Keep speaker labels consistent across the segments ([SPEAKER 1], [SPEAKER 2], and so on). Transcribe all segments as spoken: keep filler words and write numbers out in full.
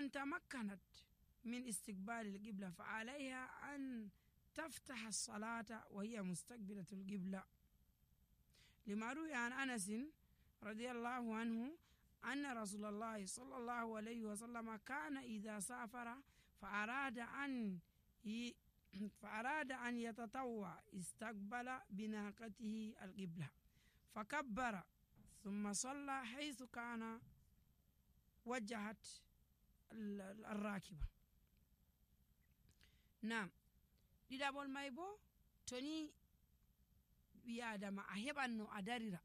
[SPEAKER 1] أن تمكنت من استقبال القبلة فعليها أن تفتح الصلاة وهي مستقبلة القبلة، لما روي عن أنس رضي الله عنه أن رسول الله صلى الله عليه وسلم كان إذا سافر فأراد أن ي... فأراد أن يتطوع استقبل بناقته القبلة فكبر ثم صلى حيث كان وجهت الراكبة. نعم ɗiɗaɓol may bo to ni ɓi adama a heɓan no a darira,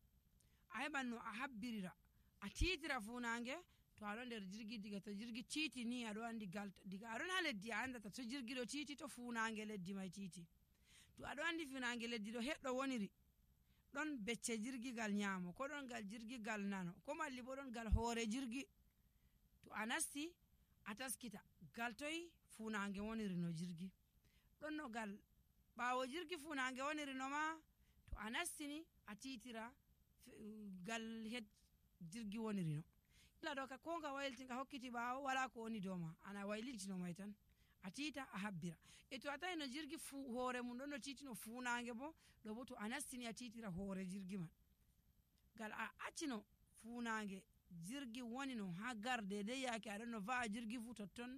[SPEAKER 1] a heɓan no a habbirira, a titira funange to aɗo nder jirgi. Diga to jirgi titi ni aɗo andi galta, diga aɗon ha leddi a andata to jirgi ɗo titi to funange leddi may titi. To aɗo andi funange leddi ɗo heɗɗo woniri ɗon becce jirgi gal nyamo, ko ɗon gal jirgi gal nano, ko malli bo ɗon gal hoore jirgi. To a nasti a taskita gal toy funange woniri no jirgi, ɗon no gal ɓawo jirgi funange woniri no ma. To a nastini a titira gal het jirgi woniri no. ila ɗo ka ko nga waylti nga hokkiti ɓawo wala ko woni dow ma, ana waylitino may tan a tita a habbira. E to a tawi no jirgi fu hoore mum ɗon no titino funange bo ɗo bo to a nastini a titira hoore jirgi man, gal a accino funange jirgi woni no ha garde dai yake aɗon no va'a jirgi fu totton